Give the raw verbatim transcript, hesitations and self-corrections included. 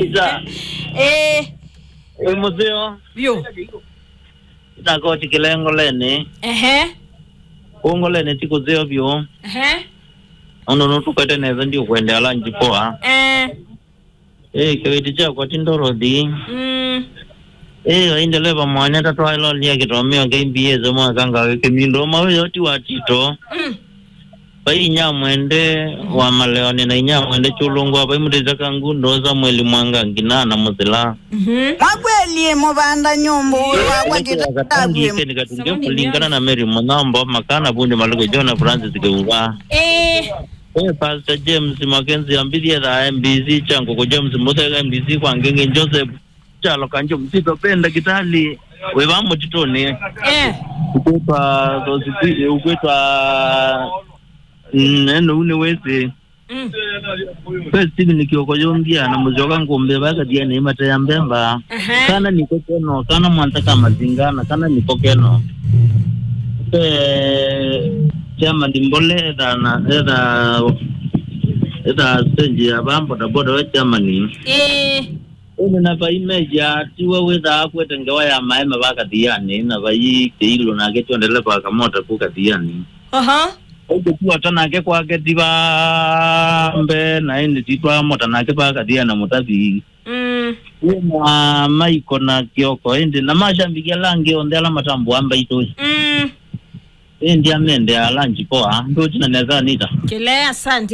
Isa. Eh. Ĩ mũseo. Vyũ. Ndakoti kĩlengoleni. Ehe. Ũngoleni ti kũseo vyũ. Ehe. Ũndũ nũtũkwete nesa ndiũkwendea lunch poa. Eh. Ĩ, kĩveti kyakwa ti Dorothy. Mm. Ĩ, ai ndeleva mwanya tatwaĩlolia kĩtomeo kĩ mbs mwaka ngawe kĩmindo mawe yoti wa tito. Mm. Vai inyamwende wa maleoni na inyamwende chulungwa vai mũtĩte kangundo Samuel Mwanga ngina na mũsila. Mhm. Makweli mũvanda nyũmbũ wakwa tito. Katunge kũlingana na Mary Mũnyombo makana vundi maluko John Francis Kĩuva. Eh. Eh, Pastor James Mackenzie ambithie thaa M B C changu ku James Muthega M B C kwa Ngenge Joseph Chalo Kanjo Msito pe ndakitali wĩva mũtitũnĩ. Eh. Ukwĩtwa Thosipili, ukwĩtwa mm, eno une wĩsĩ. Mm. Pe Steven Kioko yombia na mũsyoka ngũmbĩ vakathianĩ imatea mbemba. Aha. Kana niko keno, kana mwanta ka mazinga na kana niko keno. Pe chama ndimbole etha na etha etha stage ya ba bodaboda we chairman. Eh. Ũnĩ na vai meja tiwe wĩthaa kwete ngewa ya maema va kathianĩ na vai kĩilũ nake tyo ndeleva akamota ku kathianĩ. Aha. Ũkũkuata nake kwake ti va mbee na ĩndĩ titwaa mota nake va kathianĩ na mũtavi. Mm. Wĩna maiko na kĩoko ĩndĩ na mashabiki ala angĩ onthe ala matambũa mbaitũ. Mm. Ĩndĩ amendea ala njikoa ndũtina nesa Anita. Kĩle, asante.